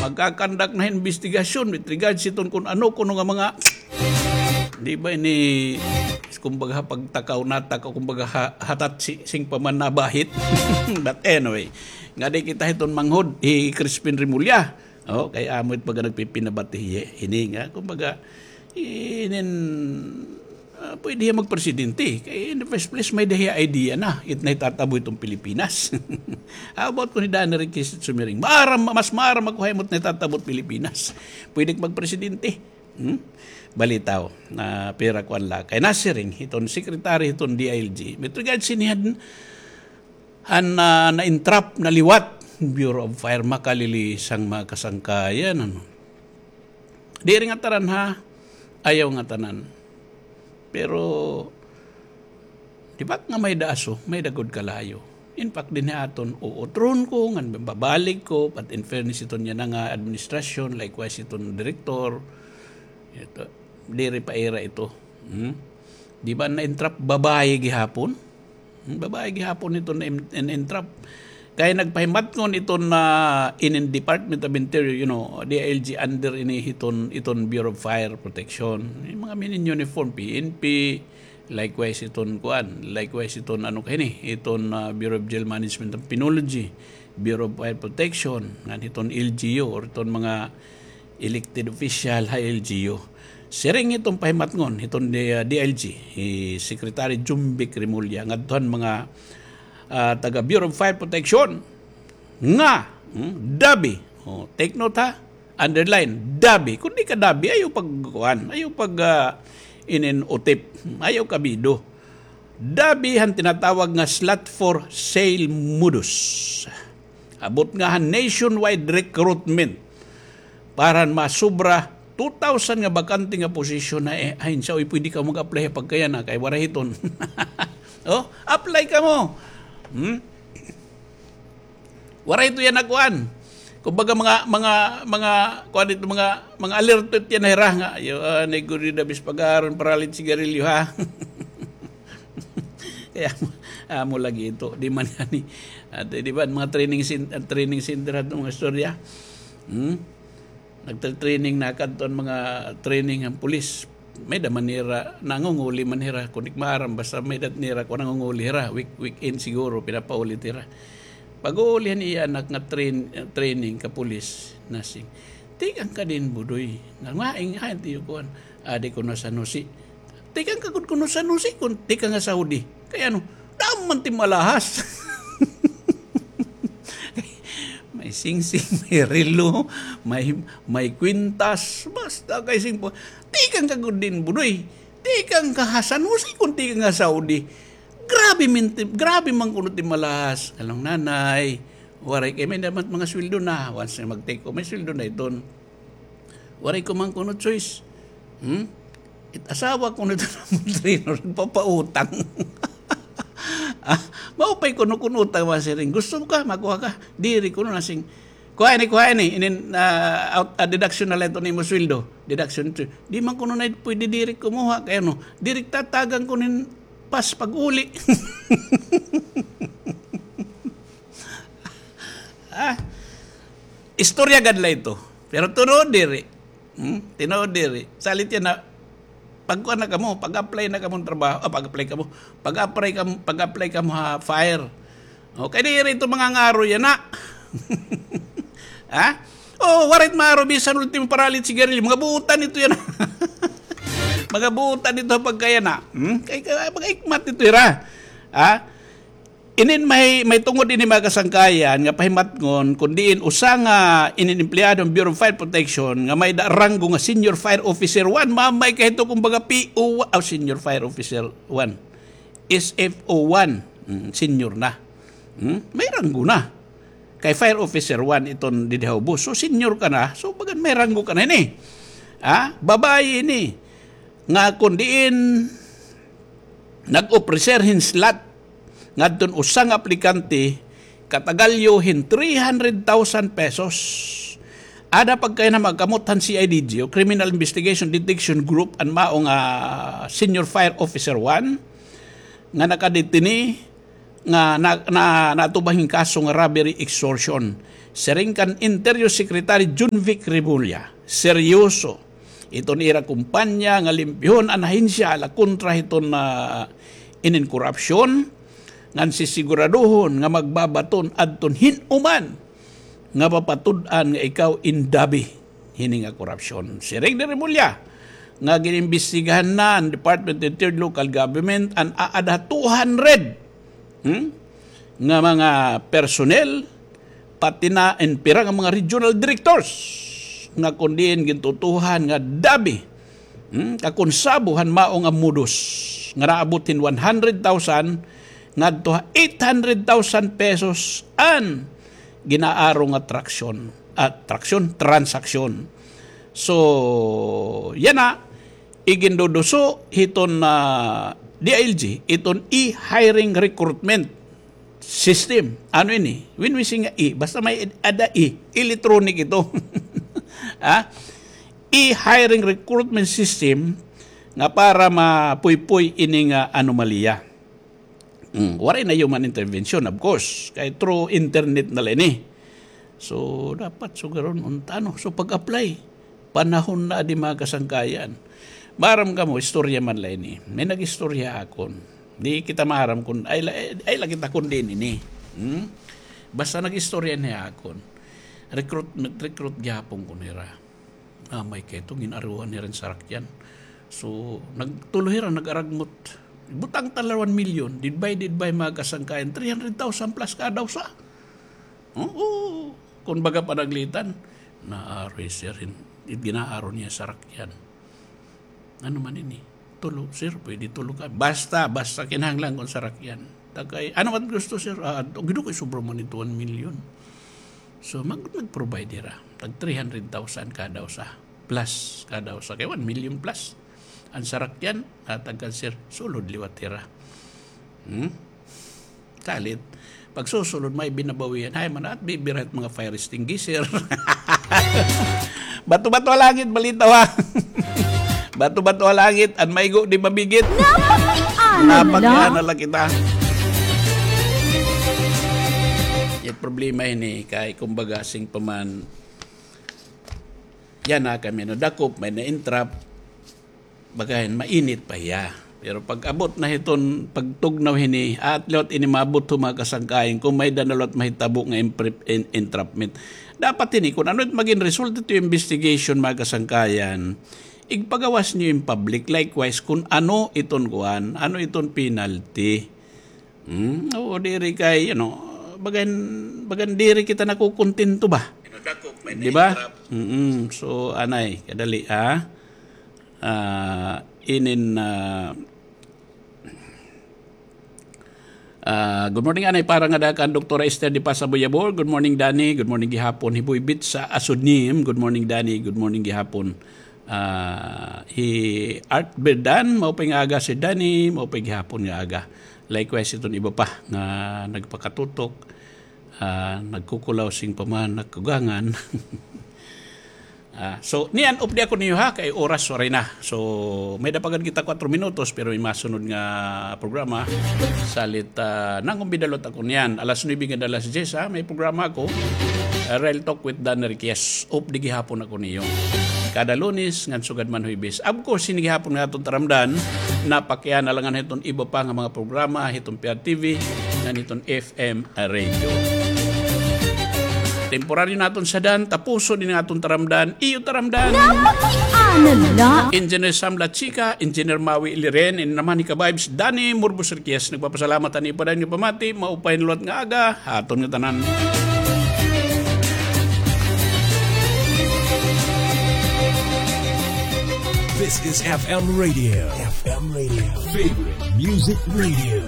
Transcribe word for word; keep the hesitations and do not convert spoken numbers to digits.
Magkakandak na hin imbestigasyon with regards hiton kun ano kuno nga mga, di ba ini, kumbaga, pagtakaw, natakaw, kumbaga, ha-, hatat si, sing pa man nabahit. But anyway, ngadi kita hiton manghod, hi Crispin Remulla. O, kay amo it baga nagpipinabati hi-, hini nga, kumbaga, inin, ah, pwede hiya magpresidente. Kay in the first place, may-ada hiya idea na it nahitatabo hiton Pilipinas. How about kun hi Danny Requesens sumiring? Maaram, mas maaram ako ha imo it nahitatabo hit Pilipinas. Pwede ka magpresidente. Hmm? Balitaw, na pira kuan la. Kay nasiring hiton secretary hiton D I L G. With regards hini han, han, ah, na-entrap na liwat, Bureau of Fire, makalilisang mga kasangkayan, ano. Diri ngatanan, ha, ayaw ngatanan. Pero, di ba nga may-ada aso, may-ada gud kalayo. In fact, dinhi aton uutron ko, ngan babalik ko, but in fairness, iton yana nga administrasyon, likewise, iton direktor, ito, diri pa ira ito. Hmm? Di ba na-entrap babaye gihapon? Hmm, babaye gihapon iton na-, na-entrap. Kay nagpahimatngon iton na inin Department of Interior, you know, D I L G under ini hiton, iton Bureau of Fire Protection. Yung mga minin uniform, P N P, likewise iton kuan, likewise iton ano kay ni, iton, ah, Bureau of Jail Management and Penology, Bureau of Fire Protection, ngan hiton L G U, or iton mga elected official ha L G U. Siring iton pahimatngon hiton D-, ah, D I L G, hi Secretary Jumbic Remulla, ngadto han mga, ah, taga Bureau of Fire Protection nga, hmm, dabi. O, take note ha, underline, dabi. Kun di ka dabi, ayaw pagkuan, ayaw pag, ah, inin-utip, ayaw kabido. Dabi han tinatawag nga slot for sale modus. Abot nga han nationwide recruitment para han masobra two thousand nga bakante nga posisyon ha, eh, ahensya. Uy, pwede ka mag-apply ha pagkayana kay waray hiton. O, apply kamo. Hmm? Waray ito yana kuan. Kumbaga, mga, mga, mga, kuan ito, mga, mga alerto ito yana hira nga, yo, ah, negoryo da bis pag-aaron, paralit sigarilyo, ha? Kay amo, amo lagi ito, di man gani. At, eh, di ba, mga training cen-, ah, training center at mga istorya. Hmm? Nagtra-training na kadto an mga training an pulis. May-ada man nira, nangunguli man hira, kun di maaram, basta may-ada nira, kun nangunguli hira, week-, weekend siguro, pinapauli hira. Pag-uuli han iya anak nga train-, training ka pulis, nasiring, "Tikang ka dinhi, Budoy." Nga, nga, ing-, hain tiyo kuan. Adi kuno ha San Jose. Tikang ka gud kuno ha San Jose, kun tikang ha Saudi. Kay ano, damo man it im alahas. May singsing, may relo, may, may kwintas, basta kay singpo. Tikang ka gud dinhi, Budoy. Tikang ka ha San Jose, kun tikang ha Saudi. Grabe man it, grabe man kuno it im alahas. Along nanay, waray kay may-ada man mga sweldo na. Once nga mag-take off, may sweldo na iton. Waray ko man kuno choice. Hmm? It asawa kuno ito nga trainer, nagpapautang. Ah, maupay kuno kun utang, masiring. Gusto mo ka, makuha ka. Diri kuno, nasiring. Kuha ini, kuha ini. Inin, ah, out, ah, deduction na la ito nimo sweldo. Deduction ito. Di man kuno na pwede diri kumuha. Kay ano, diri tatagan kuno hin pass pag-uli. Ah, istorya gad la ito. Pero tinuod diri. Hmm? Tinuod diri. Salit yana, pagkuan na kamo, pag-apply na kamo trabaho, ah, pag-apply kamo, pag-apply kamo, pag-apply kamo ha fire. O, kay diri ito mangangaro yana. Ha? O, waray it maaro bisan ultimo paralit sigarilyo. Mga buotan ito yana. Mga buotan ito pagkayana. Hmm? Kay, kay, mga ikmat ito hira. Ha? Inin may, may tungod ini, mga kasangkayan, nga pahimatngon, kun diin usa nga inin empleyado han Bureau of Fire Protection nga may-ada ranggo nga Senior Fire Officer one, mamay kay ito kumbaga P O one, ah, Senior Fire Officer one, S F O one, mm, senior na. Hmm? May ranggo na. Kay Fire Officer one iton didi ha ubos. So, senior ka na. So, bagan may ranggo ka na ini. Ha? Babaye ini. Nga kun diin nag-offer hin slot ngadton usa nga aplikante, katagalyo hin three hundred thousand pesos. Ada pagkayana magkamot han C I D G o Criminal Investigation Detection Group, an mao nga Senior Fire Officer one nga nakadetene nga na, na, natubang hin kaso nga robbery extortion. Siring kan Interior Secretary Jonvic Remulla, seryoso iton ira kumpanya nga limpyuhon an ahensya ala kontra hiton, ah, inin korupsyon, ngan sisiguraduhon nga magbabaton adton hin-o man nga mapatud-an nga ikaw in dabi hini nga korupsyon. Siring ni Remulla nga gin-imbestigahan na han Department of Interior Local Government an aada ha two hundred, hmm, nga mga personnel, pati na in pira nga mga regional directors nga kon diin gintutuohan nga dabi, hmm, kakonsabo han mao nga modus nga naabot hin one hundred thousand ngadto ha eight hundred thousand pesos an ginaaro nga traksyon, ah, traksyon, transaksyon. So, yana, iginduduso hiton, ah, D I L G, iton e-hiring recruitment system. Ano ini? When we say nga e, basta may ad-, ada e, electronic ito. Ha? E-hiring recruitment system nga para mapuypoy ini nga anomalya. Mm, waray na human intervention, of course. Kay through internet na la ini. So, dapat sugaron unta, no? So, pag-apply, panahon na adi, mga kasangkayan. Maaram kamo, istorya man la ini. May nag-istorya ha akon. Di kita maaram kun ay la, ay la kita kun diin ini. Hmm? Basta nag-istorya ini ha akon. Recruitment, recruit gihapon ko nira. Amay kay ito, gin-aruhan nira hin sarakyan. So, nagtulo hira, nag-aragmot. Butang ta la one million, divided by mga kasangkayan, three hundred thousand plus kada usa. Oo. Kun baga panaglitan, naaro hi sir hin, gin-aaro niya sarakyan. Ano man ini? Tulo, sir, pwede tulo ka. Basta, basta kinahanglan kun sarakyan. Tagay, ano man gusto, sir? Ah, adto, gido kay sobra man ito, one million. So, mag-, mag-provide hira. Tag three hundred thousand kada usa. Plus, kada usa. Kay one million plus. An sarakyan, hatag kan sir, sulod liwat hira. Hmm? Kalit. Pagsusulod, may binabawian. Hay, man, at bibira it mga fire extinguisher. Bato-bato ha langit, balitaw ha. Bato-bato ha langit, an maigo di mabigit. Napakiana la. Napakiana la kita. It problema ini, kay kumbaga, sing pa man, yana kami nadakop, may na-entrap, baga hin mainit pa hiya. Pero pag-abot na hiton pagtugnaw hini, at liwat ini maabot ho, mga kasangkayan, kon may-ada na liwat mahitabo nga impre-, en-, entrapment. Dapat hini, kun ano it magin result hito investigation, mga kasangkayan, igpagawas niyo in public. Likewise, kun ano iton kuan, ano iton penalty. Hmm? Oo, diri kay, ano, bagan, bagan diri kita nakukontento ba? Di ba? Mm-mm. So, anay, kadali, ha? Ah, inin, ah, ah, good morning, anay, para ngada kan Doktora Esther de Paz Aboyabor. Good morning, Danny. Good morning gihapon. Hi Boy Bit sa Asudnim. Good morning, Danny. Good morning gihapon. Ah, hi Art Berdan, maupay nga aga, Sir Danny, maupay gihapon nga aga. Likewise, iton iba pa nga nagpakatutok, ah, nagkukulaw sing pa man nagkugangan. Ah, so, niyan, updi ako niyo ha, kay oras waray na. So, may-ada pa gad kita kuwatro minutos, pero may masunod nga programa. Salit, ah, nangumbida liwat ako niyan. Alas nuebe ngada alas diyes, ha, may programa ako. Ah, Real Talk with Dan Riquez. Updi gihapon ako niyo. Kada Lunes, ngan sugad man Huwebes. Of course, hini gihapon nga aton taramdan, napakiana la ngan hiton iba pa nga mga programa, hiton P R T V, ngan hiton F M radio. Temporaryo naton sadan, tapuson ini nga aton taramdan, iyo taramdan. Napakiana la. Engineer Sam Lachica, Engineer Maui Liren, ini naman hi ka-vibes, Danny Murbos Riquez, nagpapasalamat han ipadayon nga pamati, maupay nga liwat nga aga, ha aton nga tanan. This is F M Radio. F M Radio. Favorite Music Radio.